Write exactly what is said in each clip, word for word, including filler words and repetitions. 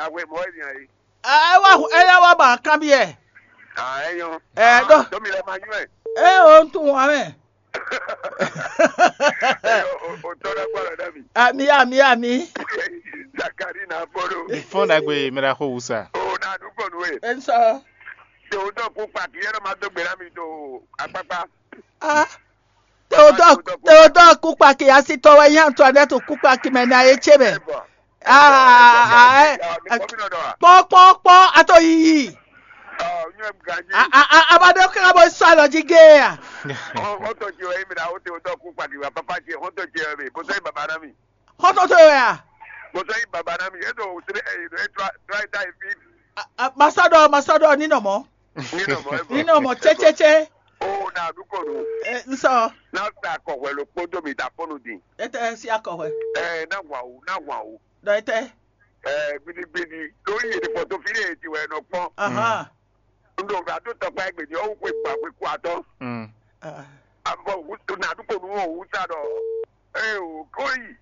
Ahwe mɔ̌ wɛ mi ǎ é. Ɛ wá hu- ɛ lɛ́ wá ba kanbyɔ́ ɛ. Ah, ɛ nyɔ́. Ɛ ɖɔ. Dɔmi lɛ ma nyɔ́ ɛ. Ɛ o, un tunwun ame. Ɛ o, o tɔ ɖe kpɔ lɛ ɖe mi. Ami ami ami. Zakari na bolo. Fɔ́n ɖagbe mɛ ɖa xo wusa. O na du kɔnu e. Ɛ sɔ. Te o dɔ kú kpaki yɛ ɖɔ ma dó gbe na mi do akpakpa. Ah. Teodoro Kukpaki asitɔ wɛ nyí Antoinette Kukpaki mɛ ná é ce mɛ. Kpɔ́n kpɔ́n kpɔ́n, a to yiyi. Abadé ká bó sɔ́ alɔ jí gé a? Xɔ́ntɔn ce wɛ nyí mi ɖa ó Teodoro Kukpaki wɛ papa ce xɔ́ntɔn ce wɛ mi bó sɔ́ nyí baba ná mi. Xɔ́ntɔn ce wɛ a? Bó sɔ́ nyí baba ná mi é ɖo wǔsré ɛ ɖo é tlá é ta é fí. Masɔ́ ɖɔ masɔ́ ɖɔ ní nɔ mɔ̌. Ní nɔ mɔ̌ é bɔ. Ní nɔ mɔ̌ cécécé. Ó na ɖu kɔ nú. Nsɔ. Ná sa akɔhwɛ ló kpódó mi da fɔ́nú din. Étɛ́ sí akɔhwɛ. Ɛ ná hwan o ná hwan o. Ɖɔ étɛ́. Ɛ gbidigbidi ló yi èdè fɔ tó fi lè ti wɛ nɔ kpɔn. Ahán. N ɖo ŋgbà tó tɔkpa ɛ gbèdé ɔwú xwe gbà xwe kú atɔ. Mm. Ah. Abɔ wútu na ɖu kɔ nú o wúsa ɖɔ. Ɛ o kó yi.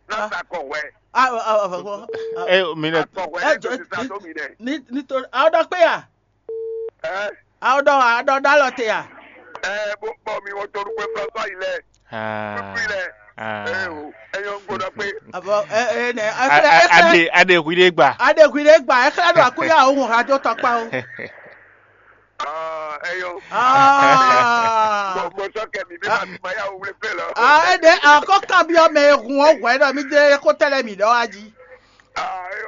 Ná sa akɔhwɛ. Ah, ah, ah, ah, ah. Ɛ mi nɛ. Akɔhwɛ ɛ ɛ jɔ tó ti sa tó mi nɛ. Ní ní tó àwọn dɔ pé à. Ɛ. Àwọn dɔ àwọn dɔ dɔ alɔ te à. Ɛ bó bɔ mi wọ́n tó lukwe fúlọ́fúlọ́ yìí lɛ. Ah. Kúkú yìí lɛ. Ah. Ɛ o ẹ yọ ń gbọ́dọ̀ pé. Àbọ̀ ẹ ẹ nẹ ẹ fẹ́ ẹ fẹ́. Ade ade hwi de gba. Ade hwi de gba ẹ xlẹ́ ɖo àkúnya òun hàn tó tɔkpa o. Ah, ẹ yọ. Ah. Mo mo sọ kẹmi bí ma ma yà wò wúlé pé lọ. Ah, ẹ dẹ àkọ́ kábíyọ̀ mẹ ehun ọ̀hún ẹ̀ dọ̀ mí dé kó tẹ́lẹ̀ mí dọ́ wá jí.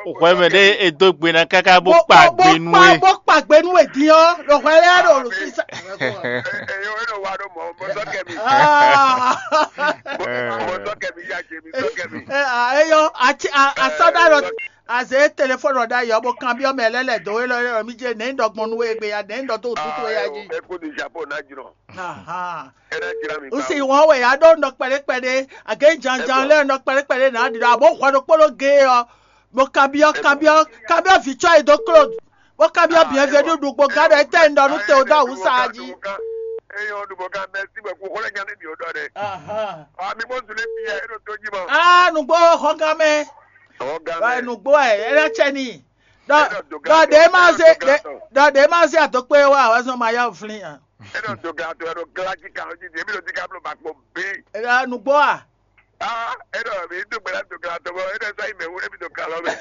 Hwɛmɛ ɖé e dó gbe ná káká bó kpa gbe nú we. Bó kpa gbe nú we din ɔ́, ɖo hwɛ lɛ́ɛ ɖo lǒ sísá. Eyɔ e nɔ wa ɖo mɔ mɔ sɔkɛ mi. Mɔ sɔkɛ mi ya jɛ mi sɔkɛ mi. Eyɔ asɔ́ ɖa ɖɔ azě telefɔni ɔ́ ɖ'ayǐ ɔ́, bó kanbyɔ́ mɛ lɛ́ lɛ̌ dó we lɔ mi jɛ nɛ̌ un ɖɔ gbɔn nú we gbe ya, nɛ̌ un ɖɔ dó wǔtú towe ya jí. Eko ni japo ná jrɔn. Aha. Ena jira mi. Usi wɔn wɛ ya ɖo nɔ kpɛɖe kpɛɖe, agě janjan lɛ nɔ kpɛɖe kpɛɖe na ɖi ɖɔ abo hwɛ ɖokpó ɖo ge ɔ, bo kabiɔ kabiɔ kabiɔ vitsɔ yi do klo, bo kabiɔ biɛnvenu ɖugbo ga ɖɔ etɛ un ɖɔ nú te o ɖo awusa ji. Eyɔn ɖugbo ga mɛ si bɔ kú xɔlɛ nya ne mi o ɖɔ ɖɛ. Aha. Ami bɔ zule bi yɛ e ɖo to ji mɔ. Ah, nugbo xɔgamɛ. Xɔgamɛ. Nugbo ɛ e na tsɛ ni. Ɖɔ ɖɔ ɖe ma se ɖɔ ɖe ma se adokpe wa wɛ zɔn ma ya flin a. E ɖo do ga to e ɖo gla jí kan jí dě mi ɖo dí ka bló ba kpɔn bí. Nugbo a. Ah, e ɖo mi do gbɛlá do gla to bɔ e ɖo sɔ yi mɛ wu e mi do gla lɔ mɛ.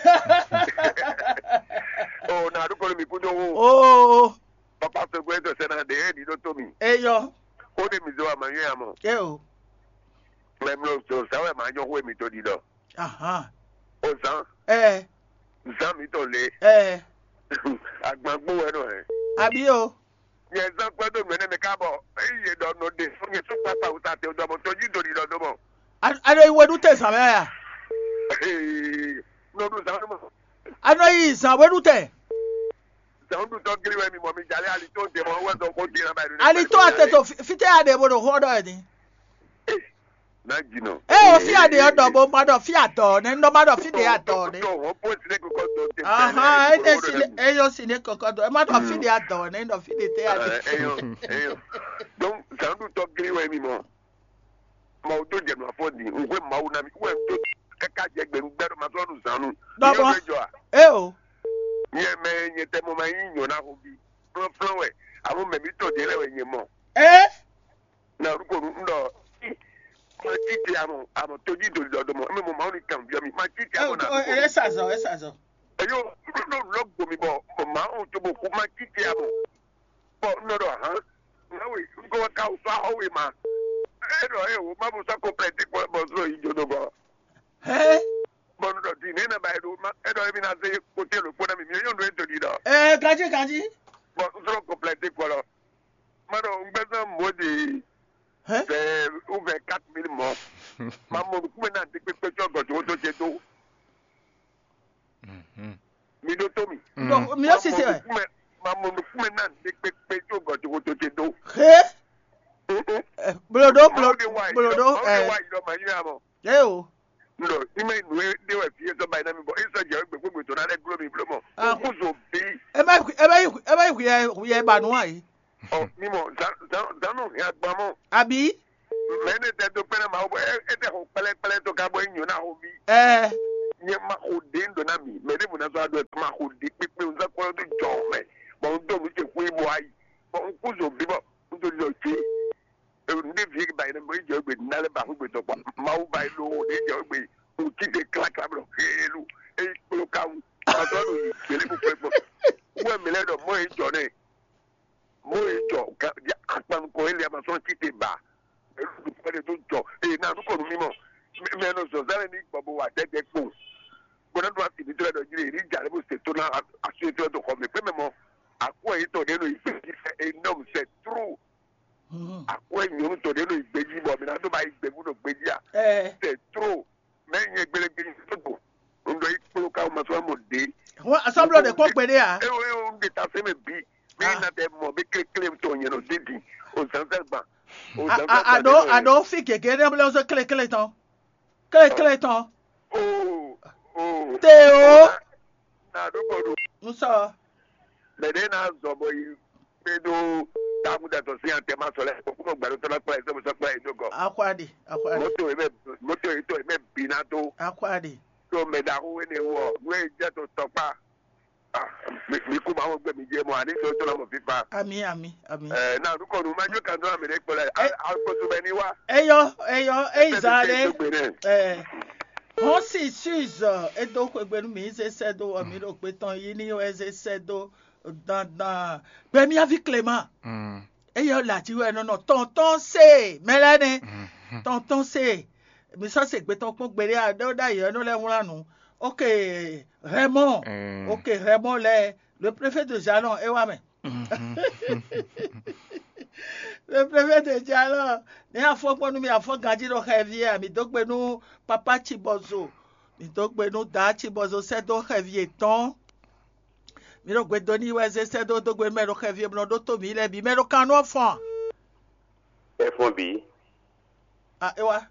O na ɖu kɔnɔ mi kú dó wo. Oo. Papa sogbo e to sɛ na ɖe e ɖi ɖo to mi. Eyɔ. O ɖe mi zo ama nyɔ ya mɔ. E o. Mɛ mlɔ so sa wɛ ma nyɔ xo mi to ɖi ɖɔ. Ahan. O zan. Ɛ. Zan mi tɔn le. Ɛ. Agbangbo wɛ nɔ hɛ. Abi o. Nyɛ zán kpɛ́ dó nǔ énɛ́ mɛ ká bɔ ényí yě ɖɔ nɔ ɖe fún nyɛ sɔ́ kpákpá wúta te dɔmɔ tɔjú dòdì ɖɔ dó mɔ. A ɖo yi weɖú te zǎn mɛ a? Ee, nɔ ɖu zǎn mɔ. A nɔ yi zǎn weɖú te. Zǎn ɖu tɔ́ gírí wɛ mi mɔ mi jalé ali tó ń tɛ mɔ wɛ zɔn kó dín náà báyìí. Ali tó a tɛ tó fitɛ a ɖe bo ɖo xɔ ɖɔ ɛ ni. Ná jìnnà. Ɛ o fí aɖe ɔ́ ɖɔ bó má ɖɔ fí adɔ nɛ, nɔ má ɖɔ fí ɖe adɔ nɛ. Tó hɔn bó ti lé kókó tó tẹ. Ahan, ɛ ní si ɛ yɔ si ní kókó dɔ, ɛ má ɖɔ fí ɖe adɔ nɛ, ɖɔ fí ɖe tɛ adɔ. Ɛ yɔ ɛ yɔ. Donc zandu tɔ giri wɛ mi mɔ. Mɔ o tó jɛ nɔ afɔ di, n hwɛ Mawu na mi, wɛ n tó kaka jɛ gbɛ n gbɛ ɖo ma sɔ nu zandu. Dɔbɔ. Ɛ o. Nyɛ mɛ nyɛ tɛ mo ma yí nyɔ na ho bi. Flɔn flɔn wɛ, àwọn mɛ mi tɔ di lɛ wɛ nyɛ mɔ. Ɛ. Na orúkọ nu ń lọ. Máa títí àmọ̀ àmọ̀ tójú ìdòdò ọ̀dọ̀ mọ̀ mí mo máa ń ní kàn bí ọmọ máa títí àmọ̀ náà. Ẹ ṣàzọ ẹ ṣàzọ. Ẹ̀yọ́ ló ló gbòmí bọ̀ mọ̀ máa ń tó bò kú máa títí àmọ̀. Bọ̀ ń lọ́dọ̀ hàn. Náwó ìgbọ́ ká o sọ àwọ̀ wì máa. Ẹ lọ ẹ wò má bọ̀ sọ́kò pẹ̀lú tí kò bọ̀ sọ ìjọba bọ̀. Ẹ. Bọ̀ ń lọ di ní ẹ̀ náà báyìí ló má ẹ lọ ẹ bí náà ṣe kó tẹ̀ ló kó náà mi mi yóò lọ ètò ìdọ̀. Ẹ gají gají. Bọ̀ ń sọ̀rọ̀ kò pẹ̀lú tí kò lọ. Mano, un gbɛzán mɔ̌ ɖe vɛ ou vɛ quatre mille mɔ̌. Ma mɔ nukúnmɛ náà ɖe kpékpé tsɔ gɔ̌ tó tó ce dó. Mi ɖó tó mi. Donc, mi yɔ sise wɛ. Ma mɔ nukúnmɛ náà ɖe kpékpé tsɔ gɔ̌ tó tó ce dó. He. Bloɖo bloɖo bloɖo ɛ. Wa yi lɔ ma yi lɔ mɔ. Ɛ o. Nɔ, ní mɛ nù é ɖé wɛ fí é sɔ́ ba yi ná mi bɔ é sɔ́ jɛ wɛ gběgbé tó ná lɛ́ gló mi bló mɔ. Kúkú zo bí. Ɛ bɛ ɛ bɛ ɛ bɛ hu yɛ hu yɛ ba nù ayi. Ɔ mímɔ zanu hɛn agban mɔ. Àbí. Mɛ ne tɛ do kpɛnɛ ma wo bɔ e tɛ xɔ kpɛlɛkpɛlɛ to ka bɔ e nyɔ na xɔ mi. Ɛ. Nyɛ ma xo ɖě un ɖɔ ná mi, mɛ ɖěvo ná zɔ́ aɖɔ ma xo ɖě kpékpé un zán kplɔ́n dó jɔ mɛ, bɔ un dó nǔ ce xwé bɔ ayi, bɔ un kú zo bí bɔ un dó ɖiɖɔ jí. Un ɖé vi ba yi nɛ mɔ yi jɛ gbe ná lɛ ba xwé gbe tɔkpɔ Mawu ba yi ɖo ɖě jɛ gbe un tite klakla blɔ xélu e kpló ka wu ma zɔ́ ɖo yi gbélé kpókpó kpó. Wɛ mi lɛ ɖɔ mɔ yi jɔ nɛ, mɔ yi jɔ akpan nukɔn e lɛ ma sɔn tite ba. Elu dukɔ ɖe tó jɔ eye na nukɔ nu mímɔ mɛ nɔ zɔzá lɛ ní gbɔ bó wà dɛdɛ kpo. Bó ná ɖó asi mi tó lɛ ɖɔ jí lè ní jà lɛ bó se tó ná asu e tó lɛ tó xɔ mi pé mɛ mɔ akwɛ yìí tɔ ɖe nɔ yi fɛ yi fɛ énorme c'est trop. Akwɛ nyɔnu tɔ ɖe nɔ yi gbé jí bɔ mi ná tó ba yi gbé bó nɔ gbé jí a c'est trop. Mɛ nyɛ gbélé gbé ní tó bò un ɖɔ yi kpló ká ma sɔn mɔ ɖe. Asɔblɔ ɖe kpɔ́ gbe ɖé a? Ewo ewo un ɖe ta fɛn mɛ bi mi na tɛ mɔ bí kléklé tɔ nyɛ nɔ dídì o zanzan gban. O zanzan gban. Aɖo aɖo fi gěgé ɖé blɛ ɔzɔ kléklé tɔn kléklé tɔn. O o Te o. Na ɖo kɔ ɖo. N sɔ. Mɛ ɖé na zɔ bɔ yi kpé ɖó takudatɔ sín atɛmasɔ lɛ kókó gbɛɖótɔ lɛ kplá yi sɔbɔsɔ kplá yi dó gɔ. Akwáɖi akwáɖi. Moto yi mɛ moto yi tɔ yi mɛ bi na dó. Akwáɖi. Tó mɛ ɖaxó wé ne wɔ nú e jẹ́ tó tɔkpá. Mi kú máa wọ́n gbé mi jẹ́ mọ́ àní sọ tó lọ́mọ fífa. Ami ami ami. Ẹ náà nukọ nu máa jó kan tó àmì rẹ kpọlẹ alùpùpù bẹ ní wá. Eyɔ eyɔ eyi zan ɖe. Ẹ hɔn si suizɔ edo xwegbe nú mi zé sɛ do wɔ mi ɖo gbe tɔn yi ní wɛ zé sɛ do dandan gbɛmíavi Clément. Eyɔ lati wɛ nɔ nɔ tɔntɔn se mɛ lɛ nɛ. Tɔntɔn se mi sɔ se gbe tɔn kpɔn gbeɖe a ɖe ɖe ayɛ nɔ lɛ wlan nu. Ok, Raymond. Ok, Raymond lɛ le préfet de Jalon e wa mɛ. Le préfet de Jalon ne afɔ kpɔn nu mi afɔ ganji ɖo xɛvi a mi dó gbe nú papa Cibɔzo. Mi dó gbe nú da Cibɔzo sɛ dó xɛvi etɔn. Mi ɖo gbe dó ní wɛ zé sɛ dó dó gbe mɛ ɖo xɛvi e blɔ ɖó tó mi lɛ bi mɛ ɖo kan nú ɔfɔn. Efɔn bi. A e wa.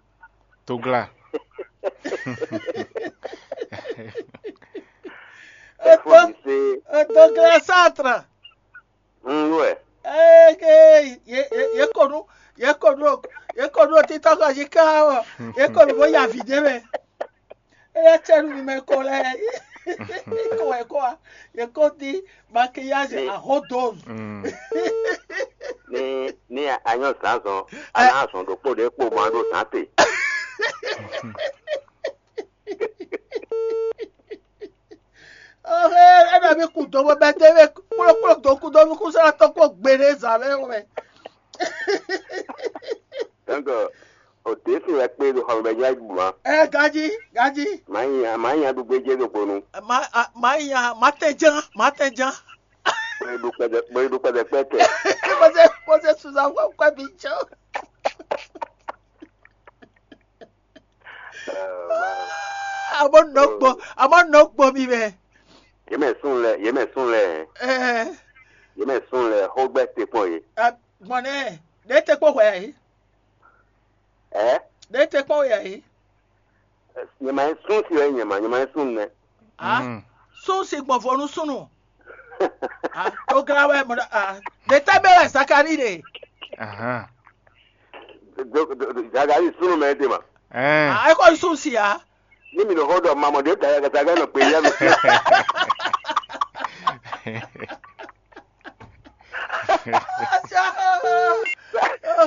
Togla. Eto Efɔn bi se. Eto gla satra. N wɛ. Eke ye ye ye konu ye konu ye konu titɔ ka yi ka wɔ ye konu bo ya vi de mɛ. Eya tsɛ nu mi mɛ ko lɛ. Ko wɛ ko a ye ko di maquillage ahodo. Ni ni anyɔ zan zɔn ana zɔn ɖokpó ɖe kpo ma ɖo zan te. Ɔhɛ, ɛna mi ku dɔn bɔ bɛ tɛ bɛ kplɔkplɔ dɔn ku dɔn mi ku sara tɔ kpɔ gbe ɖe zan lɛ wɛ. Donc, o ɖe si wɛ kpe ɖo xɔmɛ bɛ nyɔ ayi bu ma. Ɛ gaji gaji. Maa nya maa nya ɖu gbedze ɖo gbonu. Ma a- ma nya ma tɛ jan ma tɛ jan. Bɔ e ɖu kpɛdɛ bɔ e ɖu kpɛdɛ kpɛ tɛ. Mose Mose Susan wɔ kɔ bi tsɔ. Amo nɔ gbɔ amo nɔ gbɔ mi mɛ. Yemɛ sun lɛ yemɛ sun lɛ Ɛɛ yemɛ sun lɛ xó gbɛ te kpɔn ye. Gbɔn nɛ ɖe te kpɔ hwɛ yi. Ɛ Ɖe te kpɔ hwɛ yi. Nyɛma yɛ sun si wɛ nyɛma nyɛma yɛ sun nɛ. Ah, sun si gbɔn vo nú súnnu. Ah, tó glá wɛ mɔ ah, ɖe tɛ́ mɛ wɛ Zakari ɖe. Ahan. Zakari súnnu mɛ ɖe ma. Ɛn. Ah, é kɔ sun si a. Ní mi nɔ xɔ ɖɔ mamɔ ɖe ta yɛ kata gɛ nɔ kpe yɛ nɔ.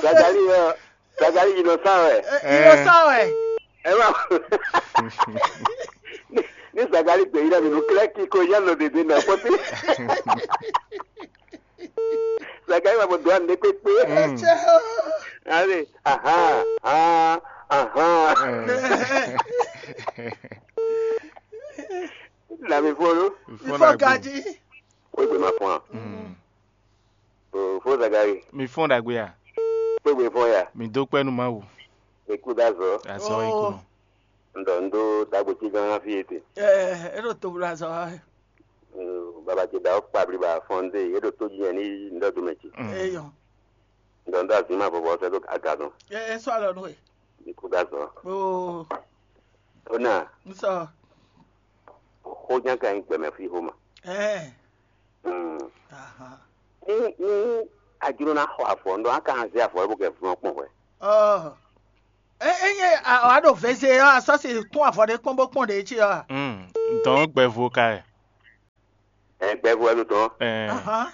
Zakari yɛ Zakari yi nɔ sa wɛ. Ɛ, yi nɔ sa wɛ. Ɛ ma. Ní Zakari gbè yi ɖe mi nú klɛ́ kíko yá nɔ ɖeɖe nɔ kpɔ́tí. Zakari ma bɔ dɔn ne kpekpe. Ɛ tsɛ o. Ale, aha, aha, aha. Ɛ. Na mi fɔ lo. Ifɔ Ifɔ na gbe. Gaji. Wegbe ma fɔn a. Mm. O fo Zakari. Mi fɔn ɖagbe a. Wegbe fɔn ya. Mi dó kpɛ́ nú Mawu. Mi kú dá zɔ. Azɔ yi kú nɔ. N ɖɔ n ɖó dagbo cí gán fi ete. Ɛ e ɖo to bla zɔ wa. Baba ce da kpa bliba fɔn de e ɖo to jí yɛn ní n ɖɔ do mɛ ce. Mm. Eyɔ. N ɖɔ n ɖɔ azin ma vɔvɔ sɛ ɖo aga dɔn. Ɛ e sɔ alɔ nú e. Mi kú dá zɔ. Oo. Ó nà. N sɔ. Xó nyá ka nyí gbɛmɛ fí xó ma. Ɛ. Mm. Aha. Ní ní a jló ná xɔ avɔ ŋɖɔ a ka zé avɔ bó kɛ vlɔ́n kpɔn hwɛ. Ɔ. Ényí a ɖo veze ɔ́, a sɔ́ si kún avɔ ɖé kpɔ́n bó kpɔ́n ɖě cí ɔ́ a? Dɔn gbɛvo ka ɛ. Ɛ gbɛvo wɛ ɖo dɔn. Ahán.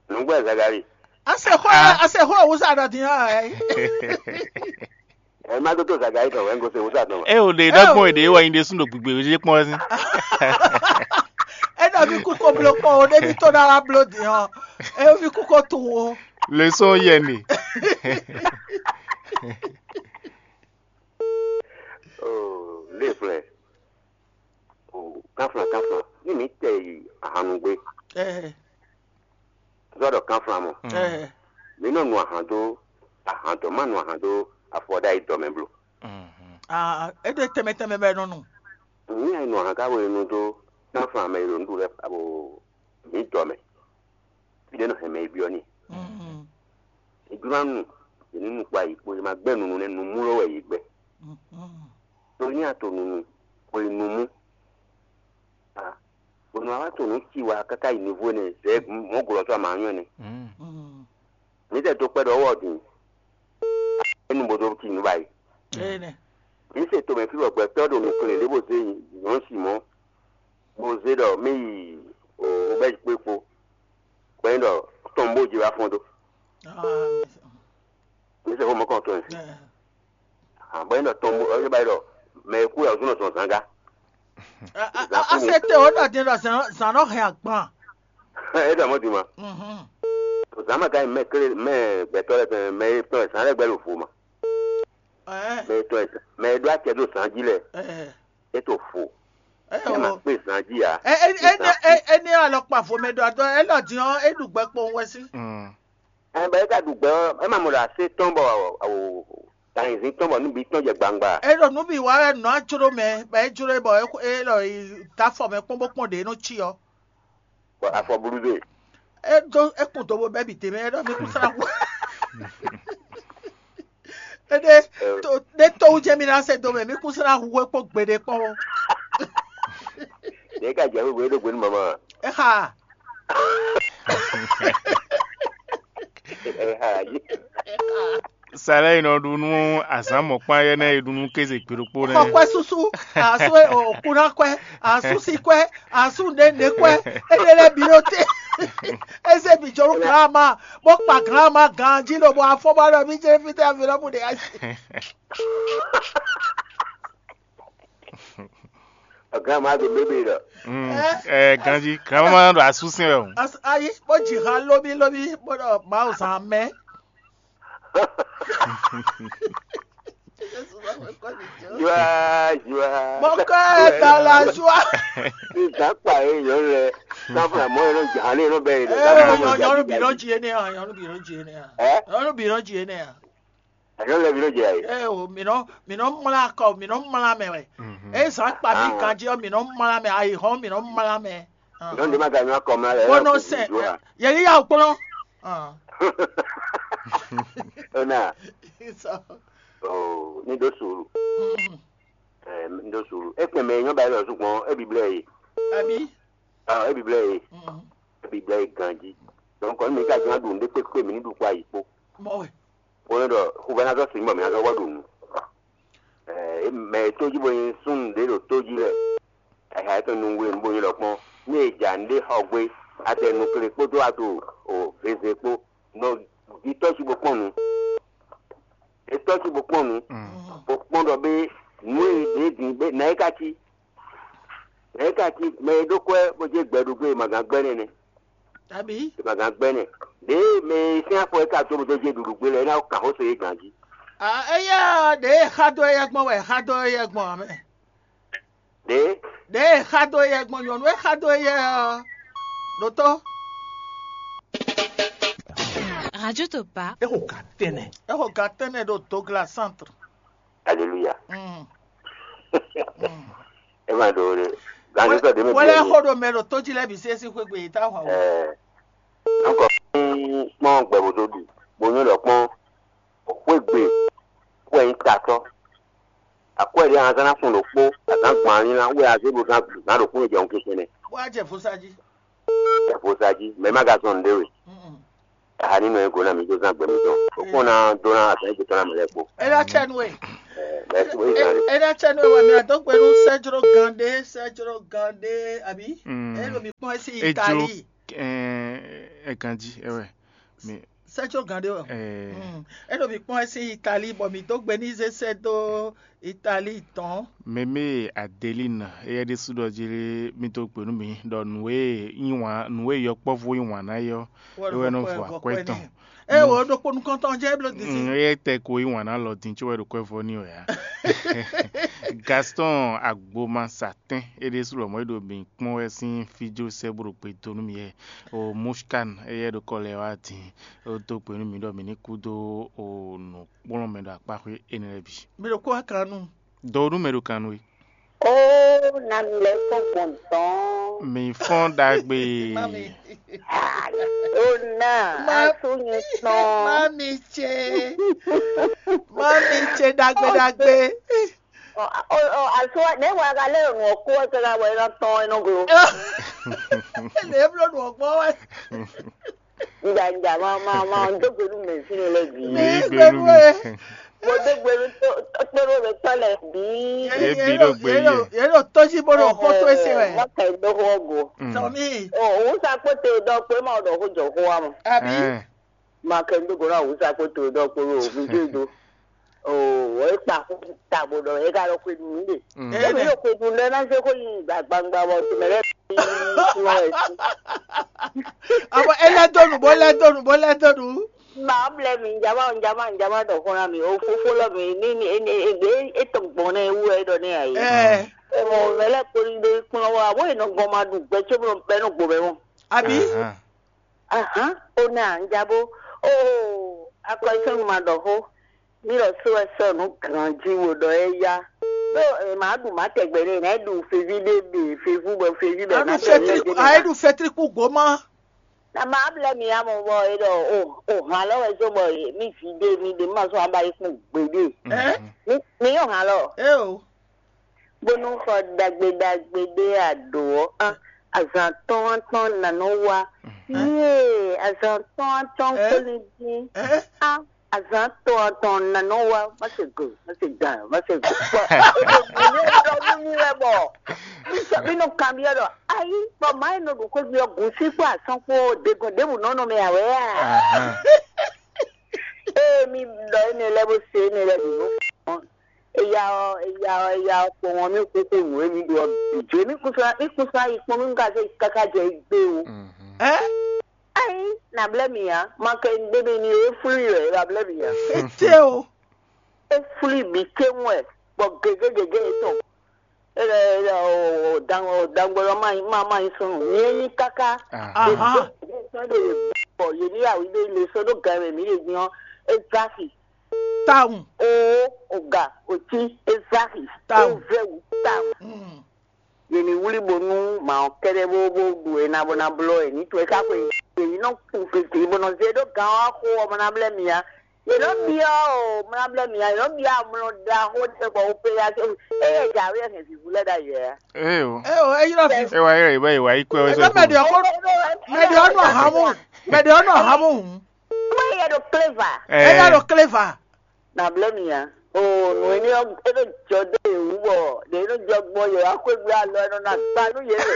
Nǔgbɛ Zagali. A se xó a se xó òwúzà ɖɔ din ɔ́ ɛ. Ɛ má dó tó Zagali tɔn wɛ ń gosín òwúzà tɔn wɛ. E o ɖe ɖɔgbɔn èdè wɔ yin ɖe sún ɖo gbigbe wéjé kpɔn sí. E ɖɔ mi kúkó bló kpɔn o ɖé mi tó ná wá bló din ɔ́. E mi kúkó tunwun o. Leçon yɛ ne. Oh, lé flɛ. Oh, kánflán kánflán. Ní mi tɛ yi ahannugbe. Ɛɛ. Zɔ ɖɔ kánflán mɔ. Ɛɛ. Mi nɔ nu ahan dó ahan dɔn, má nu ahan dó afɔ ɖ'ayǐ dɔ mɛ blo. Ah, e ɖo tɛmɛ tɛmɛ bɛ nɔ nu. Mi nɔ nu ahan ká bo nu dó kánflán mɛ e ɖo nǔɖuɖu lɛ́ɛ abo mi dɔ mɛ. Fí ɖé nɔ hɛn mɛ e byɔ́ n'i. È jló ná nu yě ní nu kpo ayǐ kpo, è ma gbɛ́ nunu nɛ́, numú lɔ wɛ yě gbɛ́. Ɖó ní a to nunu, xwe numú. Bɔ nǔ wa wá to nǔ ci wá káká yi nivo énɛ́, zɛ̌ mɔ̌ glɔ́ tɔ́ amǎ nyɔ́ ɛnɛ. Mǐ tɛ dó kpɛ́ ɖɔ ɔ́ din. É nu bo dó ci nǔ ba yi. Mǐ se tomɛ fí bɔ gbɛtɔ́ ɖo nǔ kle ɖěvo zé nyɔ̌nu Simɔ̌, bó zé ɖɔ mí yi Obɛ́zi kpó kpó, bɔ é ɖɔ tɔn bó jɛ wá fɔ́n dó. Mǐ se xó mɔ̌kɔn tɔn ɛ. Bɔ é ɖɔ tɔn bó, é ba yi ɖɔ mɛ e kú wɛ ɔ́ zɔ́n zɔn zǎngá. A se te o ɖɔ din ɖɔ zǎn nɔ hɛn agban. É ɖɔ mɔ̌ din ma. Zǎn ma ka nyí mɛ klé mɛ gbɛtɔ́ lɛ́ɛ tɔn mɛ e tɔn zǎn lɛ́ɛ gbɛ ɖo vo ma. Mɛ e tɔn mɛ e ɖó acɛ ɖo zǎn jí lɛ́ɛ, é to fo. É ma kpé zǎn jí ǎ. Éní alɔkpa vo mɛ ɖɔ adɔ é lɔ din ɔ́, é ɖu gbɛ kpowun wɛ sí. Ɛ bɔ é ka ɖu gbɛ ɔ́, é ma mɔ ɖɔ asé tɔn bɔ gǎnzin tɔn bɔ nú bǐ tɔn jɛ gbangba. É ɖo nǔ bǐ wa wɛ nǔ a jló mɛ, bɔ é jló bɔ é lɔ yi dó afɔ mɛ kpɔ́n bó kpɔ́n ɖě nɔ cí ɔ́. Bɔ afɔ blú dó e. É dó é kun do bó bɛ́ bǐ d'é mɛ, é ɖɔ mí kún slá hu. Éɖé ɖé tɔwú jɛ mí ná se do mɛ, mí kún slá hu é kpó gbeɖé kpɔ́n ó. Ɖě ka jɛ xwé é ɖó gbe nú mama. É xa. É xa yí. Sálɛ yi nɔ ɖu nú azǎn mɔ̌kpán yɛ́ nɛ́ e ɖu nú kéze gbe ɖokpó nɛ́. Xɔ kwɛ́ súsú, asú e o kú ná kwɛ́, asú sí kwɛ́, asú nɛ̌nɛ̌ kwɛ́, éɖé lɛ́ɛ bǐ ɖo te. Ézé bǐ jɔ nú glǎma, bó kpa glǎma ganjí lobo afɔ bá ɖɔ mí jɛ fítɛ́ avi lɔ bú ɖe asi. Glǎma ɖo bébé ɖɔ. Ɛ ganjí glǎma ma ɖo asúsɛn wɛ o. Ayi, bó jǐ xa lóbí lóbí bó ɖɔ Mawu zán mɛ. Joie, joie. Mon cœur est dans la joie. Ní zǎn kpa é nyɔ̌nu lɛ. Sáfúnà mọ́ ẹ ló jà ní ló bẹ́ẹ̀ lọ. Ẹ yọ nyɔnu bì ló jí énɛ́ hàn, nyɔnu bì ló jí énɛ́ hàn. Ɛ? Nyɔnu bì ló jí énɛ́ hàn. Ɛ nyɔnu lɛ bì ló jɛ ayé. Ɛ o, mì nɔ mì nɔ mlá kɔ, mì nɔ mlá mɛ wɛ. Ɛ zǎn kpa mí ganjí ɔ́, mì nɔ mlá mɛ, ayǐhɔ́n mì nɔ mlá mɛ. Nyɔnu ɖé má ga nyɔ́ akɔ mlá lɛ. Bó nɔ sɛn, yɛ yíyá o kplɔ́n. Ó nà. Oo, ní ɖó sùúrù. Ɛ ní ɖó sùúrù. É kpɛn mɛ e nyɔ́ ba élɔ́ zú gbɔn é biblɛ́ e. Abí? Ah, é biblɛ́ e. É biblɛ́ e ganjí. Donc mi ka jlɔ́n ɖu nǔɖé kpékpé mi ní ɖu kpó ayǐ kpó. Mɔ wɛ. Bó nɔ́ ɖɔ huvɛ́nátɔ́ sin bɔ mi ná zɔ́ vɔ ɖu nǔ. Ɛ mɛ e tó jí bó nyí súnnu ɖě ɖo tó jí lɛ́ɛ. Ɛhɛ, é tɔn nungbe bó nyí ɖɔ kpɔ́n. Ní è ja nǔɖé xɔ gbé, a tɛ nukle kpódó a to veze kpó. Nɔ ɖi tɔ́ cí bó kpɔ́n nǔ. È tɔ́ cí bó kpɔ́n nǔ. Bó kpɔ́n ɖɔ bé nǔ e ɖě din bé nǎ é ka cí. Nǎ é ka cí mɛ e ɖó kwɛ́ bó jɛ gbɛ ɖo gbé e ma gán gbɛ́ nɛ́ nɛ́. Abǐ? E ma gán gbɛ́ nɛ́. Ɖěe mɛ e sín afɔ é ka dó bó dó jɛ ɖuɖu gbé lɛ́ɛ é ná kan xó se é gǎn jí. Éyɛ́ ɖěe xa dó éyɛ́ gbɔn wɛ xa dó éyɛ́ gbɔn ǎ mɛ. Ɖě? Ɖěe xa dó éyɛ́ gbɔn nyɔ̌nu e xa dó éyɛ́ ɔ́ ɖo tó. Radio Topa. É xo gǎn tɛ́nnɛ. É xo gǎn tɛ́nnɛ ɖo Dogla Centre. Aleluya. Mm. Mm. É ma ɖo ɖe. Gǎn tó tɔ ɖě mɛ bí. Wɛlɛ xo ɖo mɛ ɖo tó jí lɛ́ɛ bǐ sí é sín xwé gbe yě tá hwan wǔ. Ɛɛ. Ankɔ kpɔ́n gbɛ̌ bó dó ɖu, bó nyɔ́ ɖɔ kpɔ́n xwé gbe kú wɛ nyí tatɔ́. Akwɛ́ ɖě a zán ná sun ɖokpó, a zán gbɔn ali ná wɛ a zé bo zán zán ɖokpó e jɛ nukín kɛnɛ. Bó a jɛ vosa jí. Jɛ vosa jí, mɛ ma ka zɔn nǔɖé we. Aha ní nɔ e go ná mi dó zán gbɛ mitɔn. O kpɔ́n ná dó ná azán e gbetɔ́ ná mɛ lɛ́ɛ kpó. É ná cɛ nú we. Bɛ́ sí bó yi zán lé. É ná cɛ nú ewɛ mi adó gbe nú sɛjló gán ɖé, sɛjló gán ɖé, àbí? Mm. É ɖo mi kpɔ́n ɛ sín Ejlo Itali. Ɛ ganjí ɛwɛ. Mi Sɛjló gán ɖé wɛ. Ɛ Mm. É ɖo mi kpɔ́n ɛ sín Itali, bɔ mi dó gbe ní zé sɛ́ dó Itali tɔn. Mɛmɛ Adeline, éyɛ́ ɖésú ɖɔ jí lé, mì dó gbe nú mi ɖɔ nǔ e yí wǎn, nǔ e yɔkpɔ́vú yí wǎn ná é ɔ́, é wɛ nɔ vo akwɛ́ tɔn. Ɛ wo ɖokpó nukɔntɔn jẹ́ bló disi. Mm, éyɛ́ tɛ ko yí wǎn ná lɔ din có wɛ ɖo kwɛ́ vɔ ní wɛ ǎ. Gaston Agboma Satɛn, é ɖésú lɔmɔ̌ é ɖo mì kpɔ́n wɛ sín fíjó sɛ́ bó ɖo gbe dó nú mi yɛ. O Mushkan, éyɛ́ ɖo kɔ lɛ wá din, ó dó gbe nú mi ɖɔ mi ní kú dó o nǔkplɔ́nmɛ ɖo akpáxwé énɛ́ lɛ́ɛ bǐ. Mi ɖo kó wá kan nú. Dɔwɔnú mɛ ɖo kan nú we. Ó, na mi lɛ́ kpɔ́n gbɔn tɔn. Mi fɔ́n ɖagbe. Mami. Ó ná Má- asú nyi tɔn. Mami ce. Mami ce ɖagbe ɖagbe. Asú wa nɛ wa ka lɛ nɔ kó ɛ kɛra wɛ nɔ tɔn ɛ nɔ glo. Lě bló nǔ ɔgbɔn wɛ. Nja nja ma ma ma dó gbe nú mɛ fínɛ́ lɛ bǐ. Mi Ní gbé nú gbénú mi. Ɛ. Mo dó gbe nú kpéɖó mɛ tɔn lɛ bǐ. Yě bí ɖo gbe yé. Yé ɖo tó jí bó ɖo xó tó ese wɛ. Má kɛ dó xó go. Mm. Tɔmí. O òun sa kpó te dɔ pé ma ɖɔ xó jɔ xó wa mɔ. Àbí. Ɛ. Ma kɛ dó go na òun sa kpó te dɔ pé o mi dé do. O wɔ é kpa xó ta bó ɖɔ é ka ɖɔ xó nu de. Mm. Ebe yóò kojú lɛ ná zé kó yi gbàgbàgbà bɔ tìmɛ lɛ bí kúrò ẹ sí. Àmọ́ ẹ lẹ́ dónú bó lẹ́ dónú bó lẹ́ dónú. Màá blɛ mi njama njama njama dɔ xó na mi o fofó lɔ mi ní ní ní ègbé ètò gbɔn náà ewu ẹ dɔ ní àyè. Ẹ Ẹ mɔ mɛ lɛ kpoli ɖe kplɔn wa bó enɔ gbɔn ma ɖu gbɛ tso bó bɛ nɔ gbɔ bɛ mɔ. Àbí. Ahan. Ahan, ó ná njabo. Ó akɔsɔnu ma ɖɔ xó. Mí lɔ só wɛ sɔ nǔ granji wo ɖɔ é yá. Ɖó è má ɖu má tɛgbɛ ɖé, nɛ̌ ɖu feví ɖé ɖe fevu bɔ feví bɛ Anu má tɛgbɛ fetri ɖé a eɖu fetri kú goma. Na má blɛ mi amɔ bɔ é ɖɔ o o hàn lɔ wɛ zó bɔ mi ví ɖé mi ɖe má sɔ aba yi kún gbeɖé. Ɛ Mi mi yɔ hàn lɔ. Eo. Bónú xɔ ɖagbe ɖagbe ɖé a ɖǒ ɔ́, á, azǎn tɔn tɔn ná nɔ wá. Yée, azǎn tɔn tɔn kpóni dín. Á, azǎn tɔn tɔn ná nɔ wá. Má se go, má se gan, má se go. Bɔ èdè gǔ ní ɖɔ nú mì wɛ bɔ mí sɔ mí nɔ kanbyɔ́ ɖɔ ayí bɔ má yi nɔ ɖo xwégbé ɔ́ gǔn sí kpó asán kpó degɔn ɖěbǔ nɔ nɔ mɛ ǎ wɛ a? Ée mí ɖɔ énɛ́ lɛ́ɛ bó se énɛ́ lɛ́ɛ bǐ nú Eya ɔ́, eya ɔ́, eya ɔ́, kpɔ́n ɔ́, mì kúkú nǔ e mì ɖó ɔ́ bǐ jó. Mì kún sɔ́, mì kún sɔ́ ayi kpɔ́n, mì ka zé káká jɛ gbé o. Ɛ Ayi, nà blɛ́ mì ǎ, ma kɛ ɖé mɛ ni e flú wɛ, nà blɛ́ mì ǎ. Ete o. E flú bǐ céwún wɛ, bɔ gěgé gěgé yětɔn. E lɛ e lɛ o dan o dangbɔ lɔ ma ma ma yi sɔn. Nyɛ nyi káká. Aha. Sɔ́ ɖo yě bɔ yě ní awǐ ɖé le sɔ́ ɖó gan mɛ mǐ ɖe din ɔ́, é zá xi. Tawun. Oo, oga, oti, ezaxi, Tawun. Ezɛwu, tawun. Mm. Yě ní wlí bónú mǎ ɔ́ kɛ́ɖɛ́ bó bó ɖu e ná bó ná blɔ́ yě ní to e ká xwe yě ní nɔ kun gěgé bó nɔ zé ɖó gǎn ɔ́ xó ɔ́ mɔ ná blɛ́ mì ǎ. Yě nɔ byɔ́ o mɔ ná blɛ́ mì ǎ, yě nɔ byɔ́ amlɔ ɖaxó ɖé bɔ opération éyɛ́ jǎwe hɛn vǐvú lɛ́ɛ ɖ'ayǐ wɛ. Ee o. Eo, eyi nɔ fi. E wa yɛ ba yi wa yi kpɛ wɛ Ebe sɔ. Mɛ ɖe ɔkɔ, mɛ ɖe ɔnɔ hamu, mɛ ɖe ɔnɔ hamu. Mɔ yɛ ɖo kléva. Eya ɖo kléva. Na blɛ mi ya. O nu ni ɔ e ɖo jɔ de ewu bɔ ɖe e ɖo jɔ gbɔ yɛ wa kó egbe alɔ e nɔ na gba nu yɛ lɛ.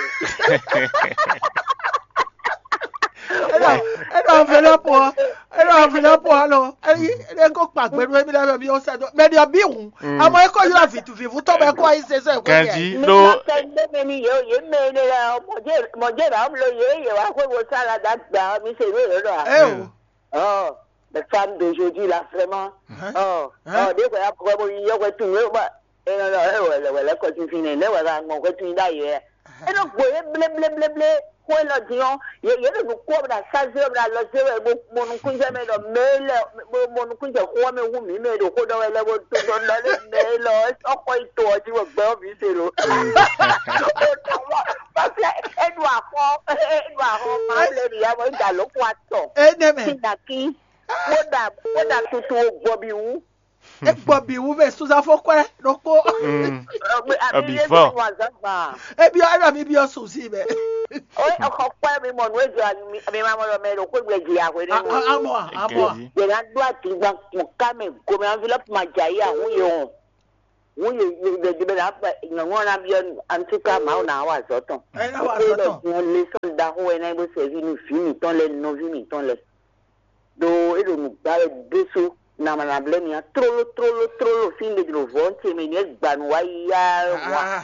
Eɖo eɖo enveloppe ɔ eɖo enveloppe ɔ lɔ eyi e ko kpa gbɛ nu ebi lɛ mi o sɛ do mɛ ni ɔ bi hun amɔ e ko yɔ vitu vivu tɔ bɛ ko ayi sese ko yɛ. Ganji Mi ɖo ma kɛ gbɛ mɛ ni yɛ o yɛ mɛ ne la mɔdze mɔdze na mlo yɛ yɛ wa kó wo sa la da gba mi se nu yɛ lɔ. Eyo. Ɔ. Les femmes d'aujourd'hui là vraiment. Ɔ ɔ ɖe kɔ ya kɔ bɔ yi yɔ kɔ tun yɔ ba. E nɔ lɔ e wɛlɛ wɛlɛ kɔ tun fi nɛ ne wɛlɛ aŋɔ kɔ tun da yɛ. E nɔ gbo ye ble ble ble ble ko e lɔ di ɔ ye ye ɖo nu kɔ bla sazi bla lɔ se wɛ bo mo nukun jɛ mɛ ɖɔ mɛ lɛ bo mo nukun jɛ xɔ mɛ wu mi mɛ ɖo ko dɔ wɛ lɛ bo to dɔ dɔ le mɛ lɔ ɔkɔ yi to ɔ di wɔ gbɛ ɔ mi se lo. O tɔ wɔ parce que e ɖo akɔ e ɖo akɔ ma ble mi ya bɔ e da lo kɔ atɔ. Enɛmɛ. Sinaki. Kódà kódà tuntun o gbɔbi wú. E gbɔbi wú bɛ suzafo kwɛ ɖokpó. Abi fɔ. Ebi ɔ ɛlɔ mi bi ɔ susi bɛ. O xɔ kwɛ mi mɔ nu ejɔ mi ma mɔ lɔ mɛ ɖo kó gbɛ dzi ahwe ne mo. Amɔ amɔ. Yɛ na do atigba kun ká mɛ gomɛ enveloppe ma dza yi ahun ye o. Hǔn yě yě yě ɖe bɛ ná nyɔ̌nu ɔ́ ná byɔ́ antuka Mawu ná wa azɔ̌ tɔn. Ɛ ná wa azɔ̌ tɔn. Din ɔ́, lesɔ́n ɖaxó wɛ ná nyí bó sɛví nú vǐ mǐtɔn lɛ́ɛ, nɔví mǐtɔn lɛ́ɛ. Ɖó é ɖo nǔ gbá wɛ ɖésú, nǎ ma ná blɛ́ mì ǎ. Tlóló tlóló tlóló fí un ɖe ɖo vɔ̌ ce mɛ ní é gba nǔ wá yá wá.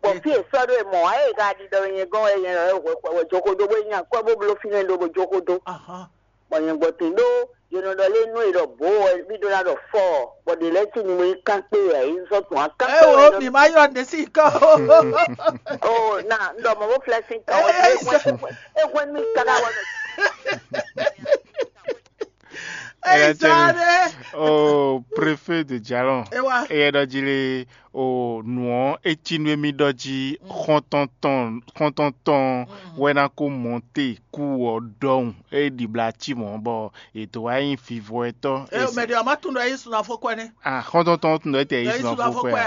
Bɔ fí e sɔ́ ɖó e mɔ̌ ǎ, e ka ɖiɖɔ nyɛ gɔ́n wɛ nyɛ wɛ hwɛ hwɛ wɛ jó xó dó, bó nyí akwɛ́ bó bló fínɛ́ ɖó bó jó xó dó. Bɔ nyɛ gbɔ tɛn ɖó yě nɔ ɖɔ lé nú e ɖɔ bǒ wɛ mí ɖó ná ɖɔ fɔ, bɔ ɖě lɛ́ɛ cí nyi mɔ nyí kán kpé wɛ, é zɔ́ tún akán kpé wɛ. Eo, mǐ ma ylɔ́ ɖě sín kɔ. O na un ɖɔ mɔ bó flɛ́ sín tɔn wɛ. É hwɛ́n mì káká wɛ. Eyi zá ɖé. O préfet de Jalɔn. Ewa. Eyɛ ɖɔ jí lé. O nǔ ɔ́, é cí nú émí ɖɔ jí xɔ́ntɔn tɔn xɔ́ntɔn tɔn wɛ ná kó mɔte kú ɔ́ ɖɔhun. É ɖibla cí mɔ̌ bɔ è dǒ wá nyí vivɔ́tɔ́. Eo mɛ ɖě ɔ́ má tunwun ɖɔ é yí sun afɔkwɛ nɛ́. Ah, xɔ́ntɔn tɔn tunwun ɖɔ é tɛ yí sun afɔkwɛ.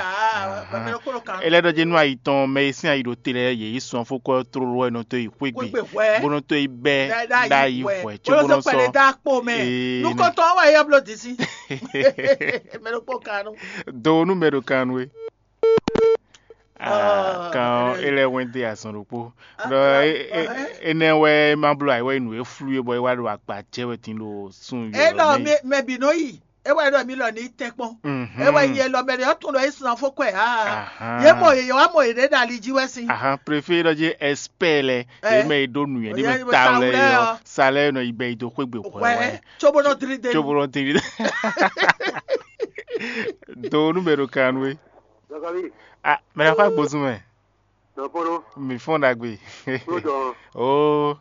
Mɛ kó ló kan. É lɛ́ ɖɔ jí nú ayi tɔn mɛ e sín ayi ɖo te lɛ́ɛ yě yí sun afɔkwɛ tlóló wɛ nɔ tó yi xwé gbe. Xwé gbe hwɛ. Bó nɔ tó yi bɛ́ ɖ'ayǐ hwɛ. Cóbó nɔ sɔ́. Pɛlɛ dá kpo mɛ. Ee, nukɔntɔn wa yɛ blo disi. Mɛ ɖokpó kan nú. Do nú mɛ ɖo kan nú é. Ah, kan ɔ́, é lɛ́ wɛn dé azɔn ɖokpó. Ɖɔ énɛ́ wɛ é má bló ayǐ wɛ é nǔ e flú é bɔ é wá ɖo akpa jɛ wɛ din ɖo sun yɔ. É lɔ mɛ bǐ nɔ yi. É wɛ ɖɔ mí lɔ ní tɛ́nkpɔ́n. É wɛ yi elɔ mɛ ɖě ɔ́ tunwun ɖɔ é sun afɔkwɛ ǎ. Yě mɔ yě wá mɔ yěɖée ɖo ali jí wɛ sín. Ahan préfé ɖɔ jí ɛspɛ́ɛ lɛ yě mɛ yi ɖó nǔnywɛ́ ɖé mɛ ta wlɛ ɔ́, sa lɛ́ɛ nɔ yi bɛ yi dó xwé gbe hwɛ wɛ. Cóbó nɔ dlí dé. Cóbó nɔ dlí dé. Do nú mɛ ɖo kan nú é. Zakari. Ah, mɛ ɖaxó agbozún mɛ. Nɔpolo. Mi fɔn ɖagbe. Kúrò jɔ. Oo.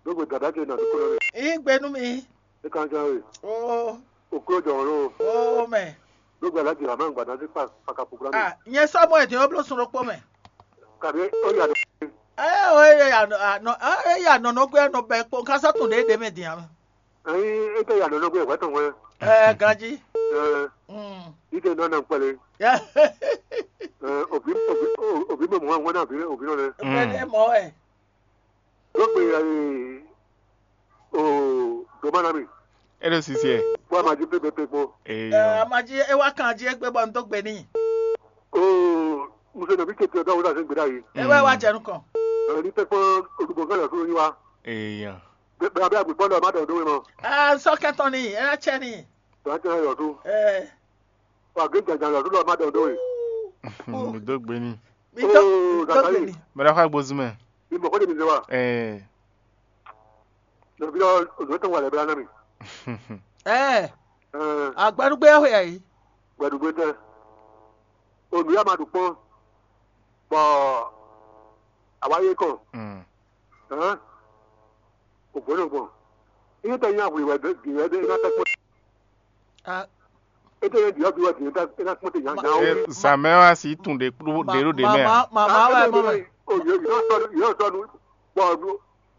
Dógbe dada ce nɔ dúkúrò rẹ̀. Yín gbe nú mi. É kan jọ rẹ̀. Oo. Òkúrò jọ rẹ̀ o. Oo mɛ. Dógbe alájì àmọ́ ìgbà náà sí pàkàpọ̀ gbọ́dọ̀. Ah, nyɛ sɔ́ mɔ èdè ó bló sun ɖokpó mɛ. Kàdé ó yà dé. Ɛ ó yà nɔ ɛ yà nɔ nɔ gbé nɔ bɛ kpó kásá tún ɖé ɖé mɛ dìá mɛ. Ɛyin é tɛ yà nɔ nɔ gbé wɛ tɔn wɛ. Ɛ ganjí. Ɛ Mm. Ike nɔ nɔ kpɛlɛ. Ɛ òbí òbí òbí mɛ mɔ wɛ náà òbí òbí nɔ lɛ. Bẹ́ẹ̀ ni mɔ ɛ. Dógbe ɛ o doma na mi. É ɖo sisi ɛ. Bó a ma jí pépépé kpó. Ee. Ɛ a ma jí é wá kan jí égbé bɔ n dó gbe n'i. O muso nɔ bí tètè ɔdọ wúlò àti gbèdá yìí. É wá wá jẹ nukɔn. Ɛ ní tẹkpọ olùgbò kan lọ sórí wa. Èèyàn. Bẹ́ẹ̀ bí agbègbè lọ má dọ̀ dó mọ́. Ɛ sɔ kẹtọ ni ɛ ná tsẹ ni. Tọ́ ẹ tẹ́ ẹ yọ̀ tó. Ɛ Wà gbé jàjà lọ tó lọ má dọ̀ dó e. Mi dó gbe ní. Mi dó mi dó gbe ní. Mẹ́ta fà gbózú mẹ́. Mi mọ̀ kó de mi zẹ wa. Ɛɛ. Lọ́bí lọ òdòdó tó wà lẹ́bẹ̀rẹ̀ náà mi. Ɛ Ẹ agbẹnugbé ɛ xwe yìí. Gbẹdugbe tɛ. Onú yà máa dùn kpɔ́n. Bɔ àwa yé kàn. Mm. Hɛn? Kò gbɔdɔ gbɔn. Iye tɛ nyɛ ahwi wɛ ɖe ɖe ɖe na tɛ kpɔn. Ah, Ete yɛ diɔ bi wɛ diɔ ta ena kpɔn te nya nya o. Eh, Samuel asi tun ɖe kplo ɖe ɖo ɖe mɛ. Mama, mama wɛ mɔ mɛ. O yɔ yɔ sɔ yɔ sɔ nu. Bɔ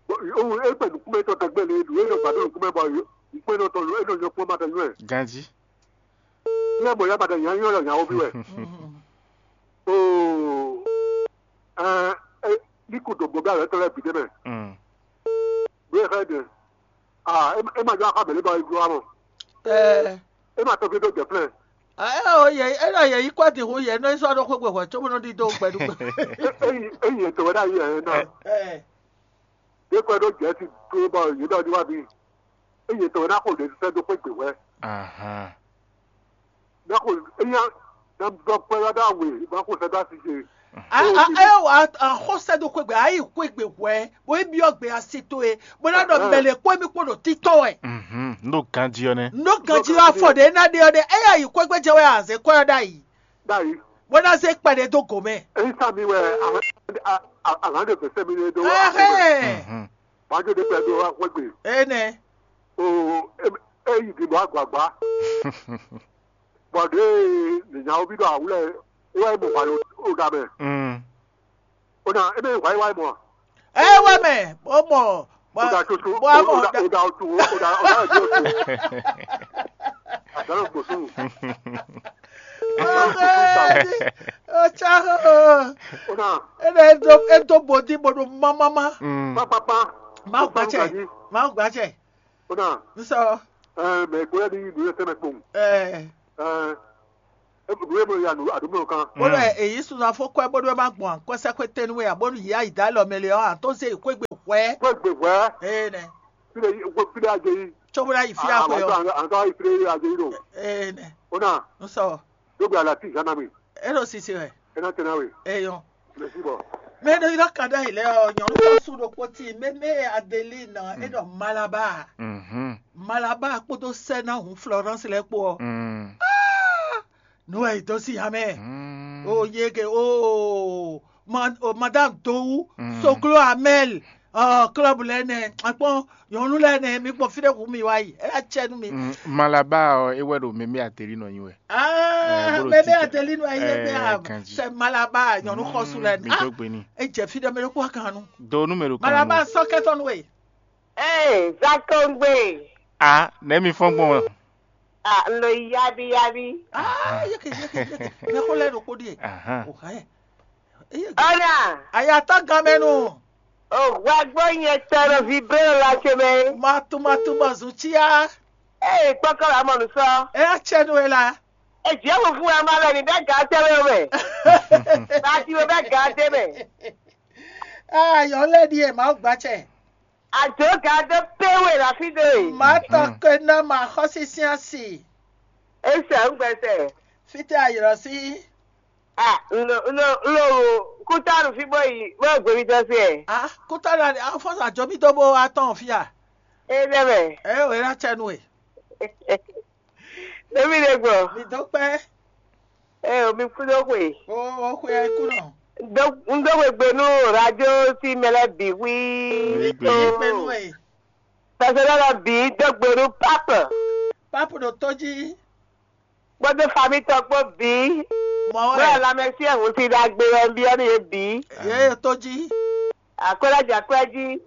o e kpɛ nukumɛ tɔ tɛgbɛ le du e nɔ gbado nukumɛ bɔ nukumɛ nɔ tɔ e nɔ nyɔ kpɔn ma tɛ nyɔ. Ganji. Nyɛ bɔ ya ba tɛ nya nyɔ nya o bi wɛ. O ɛ ɛ ni ku do gbɔ bɛ alɛ tɔ lɛ bi de mɛ. Mm. Ɖo e xɛ de. Ah, e ma jɔ akɔ abɛlɛ ba e glo amɔ. Ɛ E ma tɔ fi do jɛ flɛ. Ɛ o yɛ e nɔ yɛ yi kɔ di hu yɛ nɔ sɔ ɖo xwegbe hwɛ tso bɔ nɔ ɖi do gbɛɖugbe. Eyi eyi etɔ wɛ ɖe ayi ɛ na. Ɛ De kɔ ɖo jɛ ti do bɔ yi ɖɔ di wa bi. Eyi etɔ wɛ na xo ɖe sɛ do xwegbe hwɛ. Ahan. Na xo eya na bɔ kpɛ ya ɖo awe na xo sɛ do asi ce. A a e wa a xɔ sɛ do xwegbe a yi xwegbe hwɛ bo yi biɔ gbe asi to e bo na ɖɔ mɛlɛ kpɔ mi kpɔ ɖo titɔ wɛ. Mhm. N ɖo ganji ɔ́ nɛ́. N ɖo ganji ɔ́ afɔ ɖe na ɖe ɔ́ ɖe eya yi xwegbe jɛ wɛ a zɛ kɔ ɔ́ ɖ'ayi. Ɖ'ayi. Bo na zɛ kpɛ ɖe do gomɛ. Eyi sa mi wɛ a a a de fɛsɛ mi ɖe do. Ɛhɛn. Mhm. Wájú ɖe pɛ do wá xwegbe. Ene. O e e yi di bɔ agbagba. Bɔ ɖe nìyàwó bí ɖo awúlẹ̀ wá mọ̀ wá ló ga mɛ. Mm. Ó dà ebe wá wá mọ̀. Ẹ wá mẹ, ó mọ̀. Ó dà tuntun, ó dà ó dà ó dà ó tu ó dà ó dà ó tu. Àdánù gbòsùn. Ó tsa ó. Ó dà. Ebe é dó é dó bòdì bòdò mámámá. Mm. Pápápá. Má gbàtsẹ̀, má gbàtsẹ̀. Ó dà. Nsọ. Ẹ mẹ kó yẹ di ìlú yẹn sẹ́mẹ̀ kpọ̀n. Ẹ. Ẹ. Nǔ e mɔ ya nǔ aɖǒmlɔkan. Bónú ɛ èyí sunzan fó kwɛ́ bónú é má gbɔn akwɛ́sɛ́xwé tɛ́nú wɛ ǎ bónú yǐ ayǐ dó alɔ mɛ lé ɔ́, ǎ tó zé yi xwé gbe hwɛ̌. Xwé gbe hwɛ̌. Énɛ́. Fí ɖé fí ɖé ajé yí. Cóbó ná yi fí axwe ɔ́. Àǹtá yi fí ɖé ajé yí ɖo. Énɛ́. Ó nà. Ń sɔ. Dó gbe alati zan ná mi. É ɖo sisi wɛ. É ná tɛ ná we. Eyɔn. Mɛ sí bɔ. Mɛ ɖo ylɔ́ kaɖá yi lɛ ɔ́, nyɔ̌nu xɔ́sú ɖokpó tíin mɛmɛ Adelina é ɖɔ Malaba. Mhm. Malaba kpódó sɛ́ ná hun Florence lɛ́ɛ kpó ɔ́. Mm. Nú ɛ yi dó sí ya mɛ. Mm. O yege o ma o madame Dowu Mm. Soglo Amel ɔ club lɛ nɛ akpɔn nyɔnu lɛ nɛ mi kpɔn fi ɖe hu mi wá yi ɛ yá cɛ nú mi. Mm, Malaba ɔ, é wɛ ɖo mɛmɛ Adelina nyi wɛ. Ah, bó ɖo mɛmɛ títɛ. Adelina nyi wɛ Eh, bɛ ganji. Sɛ Malaba nyɔnu xɔsu lɛ Mm, mi dó gbe ni. E jɛ fi ɖe mɛ ɖo kpɔ kan nu. Do nú mɛ ɖo kan Malaba nu. Sɔ kɛtɔ nu we. Ee, Zakongbe. A, nɛ mi fɔn gbɔn. A, n ɖo yabi yabi. Ah, yeke yeke yeke. Mɛ ko lɛ ɖo kpó ɖie. Ahan. O hɛ. Ɔna. Ayatɔ gamɛnu. O hwɛgbɔ nyɛ tɔ ɖo vibré ɖo la ce mɛ. Matu matu bɔ zun cia. Ee, kpɔkɔ la mɔ nusɔ. E ya cɛ nu e la. E jɛ mu fún wa ma lɛ ni bɛ ga tɛ wɛ mɛ. Ba ti wɛ bɛ ga tɛ mɛ. Ah, yɔ lɛ di e ma gba cɛ. Ajo ga do pe we la fi de. Ma tɔ ke na ma xɔsi siasi. Ese ŋgbɛsɛ. Fite ayirɔ si. Ah, n lo n lo n lo kútánù fí bó yi bó gbe mi tɔ sí ɛ. Ah, kútánù àní afɔsà jọ mí dó bó wá tán fíà. E lɛ mɛ. Ɛ wɛ ná tsɛ nú e. Ɖevi ɖe gbɔ. Mi dó kpɛ. Ɛ o mi kú dó xwe. O o xwe ɛ kú nɔ. N dó n dó xwe gbe nú radio sí mɛ lɛ bǐ xwí. Mi kpɛ yí kpɛ nú e. Pɛsɛlɛ lɔ bǐ dó gbe nú pápɛ. Pápɛ ɖo tó jí. Kpódó fami tɔn kpó bǐ. Mɔ Bó wɛ. Alamɛsí ɛhun si ɖagbe wɛ un byɔ́ nú yě bǐ. Yě e tó jí. Akwɛ́lɛ́ jɛ akwɛ́ jí.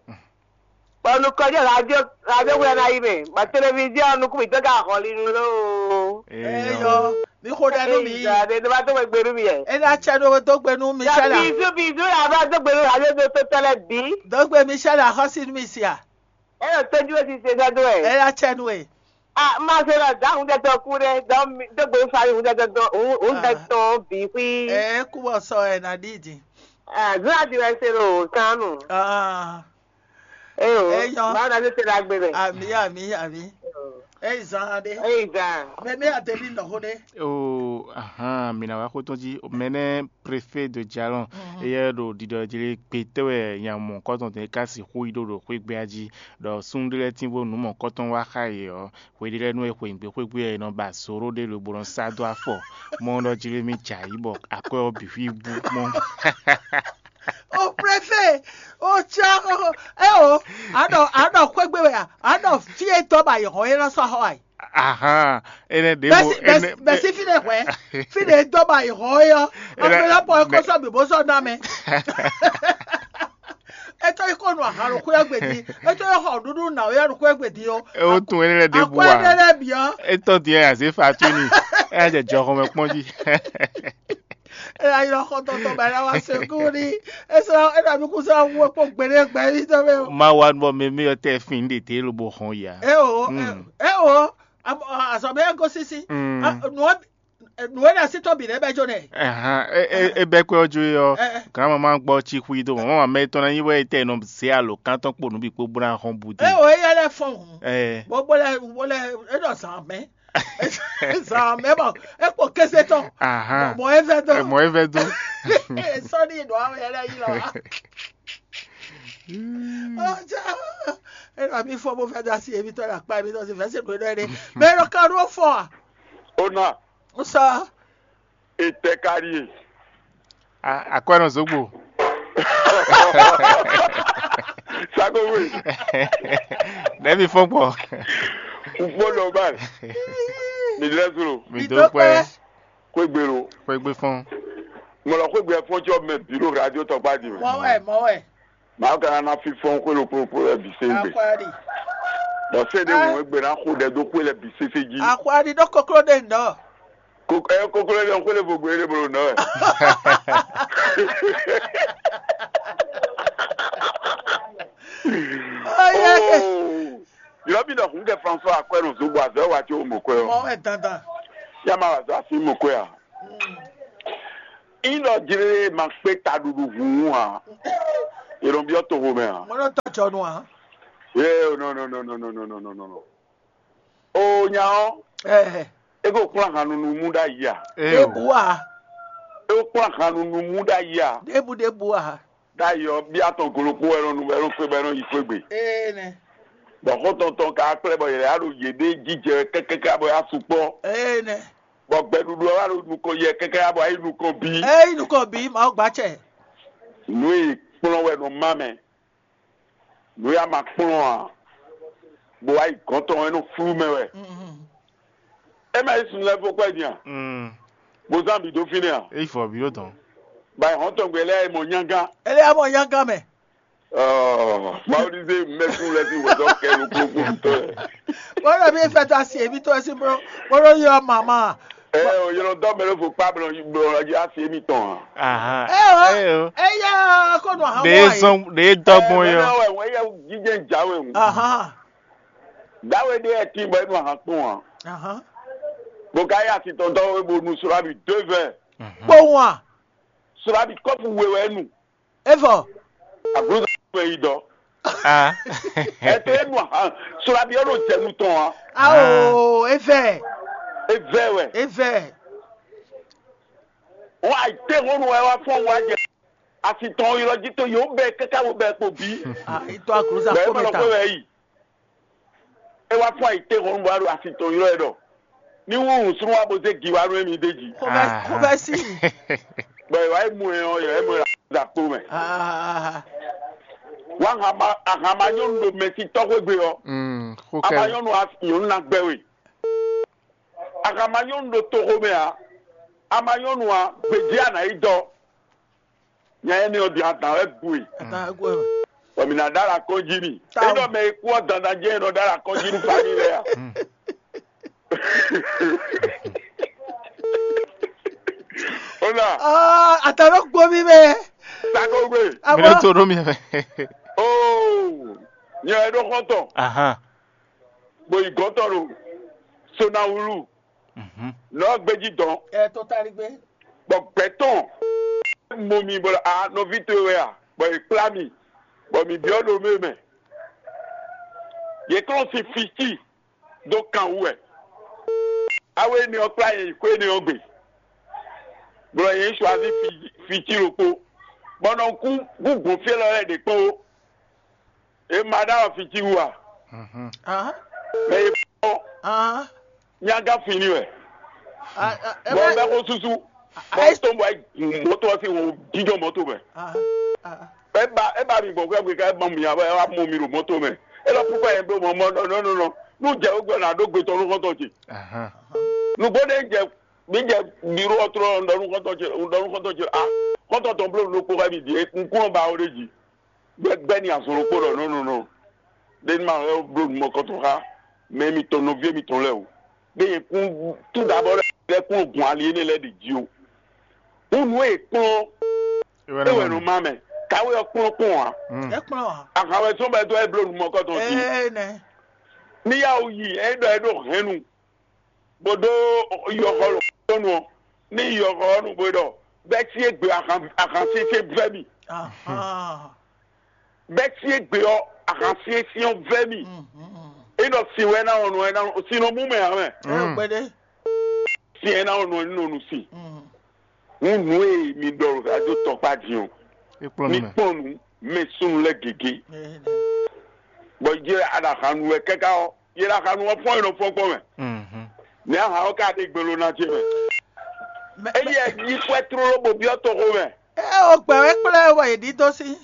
Bɔ nukɔn jɛ radio radio wɛ ná yi mɛ. Bɔ televiziɔn nukún mǐtɔn ka hɔlinu lóo. Eyɔ, mi xo ɖɛ nú mi. Ìgbà ɖe ló bá tó gbe nú mi yɛ. E ná tsɛ ɖó dó gbe nú mi Yɔ tsɛ la. Bizu bizu yà bá tó gbe nú radio tó tó tɛlɛ bǐ. Dó gbe mi tsɛ la xɔsi nú mi sia. E yɔ tójú ó ti ṣe sọ́dún ẹ̀. E ná tsɛ nú e. Ah, má ṣe lọ dá òun tẹ́tọ́ kú rẹ, dán mi dógbò ń sáré òun tẹ́tọ́ dán òun òun Ah. Tẹ́tọ́ bí pí. E kú bɔ sɔ ẹ nà dídì. Ah, zúrà ti rẹ ṣe lò ó kánú. Ah, Ẹ o, Ẹ yan. Báwo la ṣe ṣe la gbé bẹ̀? Àmì àmì àmì. Ẹ zan adé. Ẹ ìgbà. Mẹmí àtẹlí nọ̀hó dé. O ahan, mina wa xótó jí mɛnɛ préfet de Jalon. Eyɛ ɖo ɖiɖɔ jlé gbetɛwɛ nya mɔ kɔtɔn tɛ ka si xó yi ɖo ɖo xwé gbé ají ɖɔ súnnu ɖé lɛ́ɛ tínvo nǔ mɔ kɔtɔn wá xa yě ɔ́, xwe ɖé lɛ́ɛ nú é xweyǐgbe xwégbé ɔ́, è nɔ ba zǒ ɖó ɖé lobo nɔ sá dó afɔ, mɔ ɖɔ jlé mì jɛ ayǐ bɔ akwɛ́ ɔ́ bǐ xwí bú mɔ. O préfet, o tsa o e o, a ɖɔ a ɖɔ xwégbe wɛ a, a ɖɔ fí e dɔ ba yi hɔn e nɔ sɔ xɔ ayi. Ahan, ene ɖe mo Bɛsi ene bɛsi bɛsi fi ne hwɛ, fi ne dɔ ba yi hɔn e yɔ, Ene- ame la pɔ e ko sɔ bi bo sɔ na mɛ. Etɔ yi ko nu ahan ɖo xwé gbedi, etɔ yi xɔ ɖuɖu na o ya ɖo xwé gbedi o. E wo tun ene lɛ ɖe bu Akɔ wa. Ene lɛ biɔ. Etɔ diɛ aze fa tu ni. E ya jɛ jɔ xɔmɛ kpɔn ji. Ela yi lɔ xɔ tɔtɔ ba ela wa se kú ni. Esa ena mi kú sa wu kpɔ gbede gbɛ yi tɔ mɛ o. Ma wa bɔ mɛ mi yɔ tɛ fin de te lobo hɔn ya. E o Mm. E o azɔ bɛ go sisi. Mm. Nua nua na si tɔ bi lɛ bɛ jo nɛ. Ɛhan, e e e bɛ kpɛ ɔjo yɔ. Eh, eh. Grandma ma gbɔ tsi xui do mama mɛ tɔn na nyi wɛ tɛ nɔ se alo kantɔn kpo nubi kpo bla hɔn bu de. E o eya lɛ fɔn hun. Eh. Bo bo lɛ bo lɛ e nɔ zan mɛ. Zan mɛ bɔ e kpo kese tɔn. Ahan. Mɔ e vɛ do. Mɔ e vɛ do. Sɔni nɔ awɛ yɛ lɛ yi lɔ wa. Ɔjà e nɔ mi fɔ bo fɛ da si ebi tɔ la kpa ebi tɔ si fɛ se do e dɔ ye de. Mɛ e nɔ ka ɖo fɔ a? Ona. N sɔ. Etɛ ka ɖi e? A- Akwɛ́nɔ Zogbo. Sagowe. Nɛbi fɔn kpɔ. Kpɔ lɔ ba. Mi lɛ zolo. Mi do kpɛ. Kwe gbe lo. Kwe gbe fɔn. Mɔlɔ kwe gbe fɔn jɔ mɛ bi lo radio tɔgba di mɛ. Mɔ wɛ, mɔ wɛ. Maa kana na fifɔn xwé ɖokpó ɖokpó lɛ́ɛ bǐ sɛ́n gbe. Akwari. Bɔ sɛ́n ɖé wun egbe ná xo ɖɛ dó xwé lɛ́ɛ bǐ sésé jí. Akwari ɖó koklo ɖe ŋdɔ. Ko ɛ koklo ɖe xwé lɛ́ɛ vo gbe ɖé bolo nɔ wɛ. Oye. Yɔrɔ bi nɔ hun kɛ François akwɛ nɔ zogbo azɔ wa ti o mɔ kwɛ o. Mɔ wɛ dandan. Ya ma wa zɔ asi mɔ kwɛ a. Yin ɖɔ jlé ma kpé taɖuɖu hǔnhún ǎ. È nɔ byɔ́ toxo mɛ ǎ. Mo nɔ tɔjɔ nu ǎ. Yé no no no no no no no no no. O nya ɔ́, Ɛɛ, é ko kplɔ́n ahan nunu mú ɖ'ayǐ a? Ee ɖěbǔ o. A, É ko kplɔ́n ahan nunu mú ɖ'ayǐ a? Ɖěbǔ ɖěbǔ a. Ɖ'ayǐ ɔ́, byɔ́ atɔn golo kpó wɛ nɔ nu wɛ nɔ xwe bɔ é nɔ yi xwé gbe. Ee nɛ. Bɔ xɔ́ntɔn tɔn ka kplɛ́ bɔ yě wá ɖo yěɖée jijɛ wɛ kɛ́kɛ́kɛ́ bɔ é wá sukpɔ́. Ee nɛ. Bɔ gbɛɖuɖu ɔ́ wá ɖo nukɔn yɛ kɛ́kɛ́ bɔ é yi nukɔn bí. Ée yi nukɔn bǐ Mawu gbacɛ. Nǔ e kplɔ́n wɛ nɔ má mɛ. Nǔ e a ma kplɔ́n ǎ, bó wá yi gɔ̌n tɔn ɔ́, é nɔ flú mɛ wɛ. É má yi sun lɛ́ɛ fó kwɛ́ din a? Mm. Bó zán bǐ dó fínɛ́ a? É yi fɔ bǐ ɖó dɔn. Ba yi hɔn tɔn gbe lɛ́ɛ yi mɔ nyángán. Ele ya mɔ nyángán mɛ. Ɔɔ, Mawu ní zé mɛkún lɛ́ɛ sín wězɔ́ kɛ nukúnnú tɔn lɛ́ɛ. Bó ɖɔ bí fɛtɔ asi èmi tɔn ɛ sín bó bó ɖo yɔ mama. Ɛ o, yɔlɔ dɔ mɛ ló fo kpa blɔ blɔ yɔ asi èmi tɔn a? Ahan. Ɛ o, Ɛ o. Eya kó nu ahan Ɖe mɔ zɔn ɖe dɔgbɔn yɔ. Ɛ wɛ wɛ yɛ jíjɛ jáwé ŋu. Ahan. Dawe ɖe ɛ tin bɔ enu ahan kpɔn a? Ahan. Bó ka yɛ asi tɔn dɔ wé bo nu sura bi deux vingt. Kpowun a? Sura bi kɔpu we wɛ nu. Evɔ. Aglǔza wɛ yi dɔ. Ah. Ɛ tɛ enu ahan. Sura bi ɔ́ ɖo jɛnu tɔn a? Ao, evɛ. Evɛ wɛ. Evɛ. Wọn àìtẹ́hónú wɛ wá fún wa jẹ. Àsìtàn ylɔ jí tó yòó bẹ kẹ́kẹ́ wo bẹ kpo bí. Ah, itɔ agloza Bẹ́ẹ̀ kó mọ̀ mẹ́ta. Lọ́kọ́ wẹ̀ yìí. Ẹ wá fún àìtẹ́hónú wa ɖo àsìtàn ylɔ ẹ ɖɔ. Ní wọ́n rùn súnmọ́ wa bó zé gi wá nú ẹ̀mí dé jì. Kó bẹ́ kó bẹ́ sí. Bọ̀ ìwà ìmú ẹ̀ ọ́ yẹ ẹ̀mú ẹ̀ là kpo mẹ́. Ah, Wá hama ahama nyɔnu ɖo mɛsí tɔxwé gbe ɔ. Mm, xó Ama kɛ. Nyɔnu a nyɔnu na gbɛ we. Ahama nyɔnu ɖo toxo mɛ a. Ama nyɔnu a gbedzi a nǎ yi dɔ. Nya énɛ́ ɔ́ din adǎn wɛ gu e. Atan egu ɛ. Bɔ mǐ ná ɖó alɔ akɔ́njí n'i. Tawu. Énɛ́ mɛ e kú ɔ́ dandan jɛ́n è nɔ ɖó alɔ akɔ́njí nú fámi lɛ́ɛ a. Ó nà. Ah, atan ló gbó mi mɛ. Sakogbe. Mi ló tó ɖó mi mɛ. Óò. Nyɛ wɛ ɖó xɔ́ntɔn. Ahan. Bó yi gɔ̌tɔn ɖo Sonawulu. Mhm. Nɔ gbéjí dɔn. Ɛ tó tali gbé. Bɔ gbɛtɔn mɔ mi bɔ a nɔví towe wɛ a, bɔ è kplá mi, bɔ mǐ byɔ́ ɖo mɛ mɛ. Yě kplɔ́n sin fící dó kan wú wɛ. Awe énɛ́ ɔ́ kplá yě yi xwé énɛ́ ɔ́ gbe. Bɔ yě suazí fící ɖokpó, bɔ nɔ kú gúgbɔn fí élɔ́ lɛ́ɛ ɖě kpó. E ma ɖo afi jí wú a? Mhm. Ah, Mɛ e fɔ ah, nyaga fini wɛ. Ah, ah, eh, Bɔ ouais. Bɛ ko susu. Ah, Bɔ eh, to bɔ mɔto ɔsi wo jijɔ mɔto mɛ. Ah, ah, E ba e ba mi gbɔn kɛ ka e ba mi ya e wa mɔ mi ɖo mɔto mɛ. E lɔ pukɔ yɛ blo mɔ mɔ nɔ nɔ nɔ. Nu jɛ o gbɛ na ɖo gbe tɔ nu kɔntɔ ce. Ahan. Nugbo ne jɛ mi jɛ biro ɔtrɔ nɔ nu kɔntɔ ce nɔ nu kɔntɔ ce a kɔntɔ tɔn blo nu kpo ka mi di e kun kún ba o ɖe ji. Gbɛgbɛ́ ni azɔn ɖokpó ɖɔ nɔ́ nɔ nɔ ɖé ní ma wɛ bló nǔ mɔkɔtɔn xá mɛ mitɔn nɔví mitɔn lɛ́ɛ o. Ɖé nyɛ kún tún ɖabɔ lɛ́ɛ kún gun ali énɛ́ lɛ́ɛ ɖi jí o. Hǔn nǔ e è kplɔ́n é wɛ nɔ má mɛ. Kawé ɔ́ kplɔ́n kpɔ́n ǎ. Mm. É kplɔ́n ǎ. Ahan wɛ sɔ́n bɔ é dó wá é bló nǔ mɔkɔtɔn jí. Ee nɛ. Ní yá wú yi é ɖɔ é ɖo hɛ̌nnu. Bó ɖó yɔxɔ lɔ̌nu ɔ́, ní yɔxɔ ɔ́ nu bó ɖɔ bɛ́ sí égbé ahan ahan sésé vɛ́ mì. Ahan. Bɛ́ sí égbé ɔ́ ahan sésé ɔ́ vɛ́ mì. Mhm. É ɖɔ sin wɛ ná wɔn nɔ ɛ ná sin nɔ mú mɛ ǎ mɛ. Ɛ Mm. Gbɛɖe. Sin ɛ ná wɔn nɔ ɛ nɔ nu sin. Mhm. Hǔn nǔ e mi ɖɔ ɖo radio tɔkpá din ɔ́, É kplɔ́n mi nú mɛ. Kpɔ́n nǔ mɛ súnnu lɛ́ɛ gěgé. Ɛ, ɛ. Bɔ yě aɖaxanu wɛ káká ɔ́, yě ɖo axanu ɔ́ fɔ́n e nɔ fɔ́n gbɔn mɛ. Mhm. Ní aha ɔ́ ka ɖe gbelo ná ce mɛ. Mɛ- Eyi ɛ yi kwɛ tlóló bó byɔ́ toxo mɛ. Ɛ o gbɛ wɛ kplɔ́ ɛ wɔ yě ɖidó sí.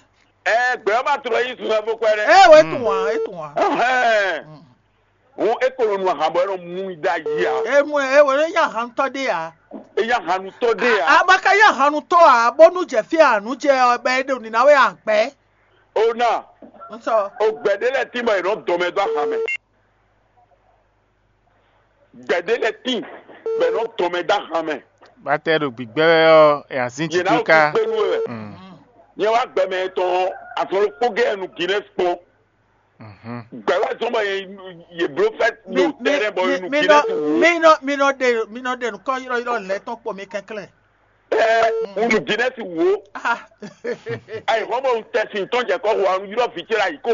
Ɛ gbɛ ɔ́ ma tlɔ yí sun wɛ fó kwɛ ɖɛ. Ɛ o e tun wa e tun wa. Ɛhɛn. Hɔn e ko nɔ nu ahan bɔ e nɔ mú i ɖ'ayǐ a? E mú ɛ e wɔ e nya hantɔ ɖe ya. E nya hanu tɔ ɖe ya? A ma ka nya hanu tɔ a bónú jɛ fí a nǔ jɛ ɔ bɛ e ɖo nǐná wɛ a gbɛ. O na. N sɔ. O gbɛ ɖe lɛ tí bɔ e nɔ dɔmɛ dó ahan mɛ. Gbɛ̌ ɖé lɛ́ɛ tíin, bɔ è nɔ tɔn mɛ dó ahan mɛ. Bátɛ ɖo gbǐgbɛ́ wɛ ɔ́, è nǎ zín Yě ná ɖo títúká. Kpé nú we wɛ. Mm. Nyɛ wá gbɛmɛ tɔn azɔn ɖokpó gɛ́ nu Guinness kpɔ́n. Mhm. Gbɛ̌ wá zɔ́n bɔ yě yě bló fɛ́ Mi ɖo mi tɛ́rɛ́ bɔ mi yě nu mi nɔ Guinness wú. Mi nɔ mi nɔ ɖe mi nɔ ɖe nukɔ ylɔ́ylɔ́ lɛ́ɛ tɔn kpɔ mi kɛnklɛ́n. Ɛ, unu Guinness wo. Ayi, hɔn mo tɛ si tɔn jɛ kɔ ho anu yɔ vi ce la yi ko.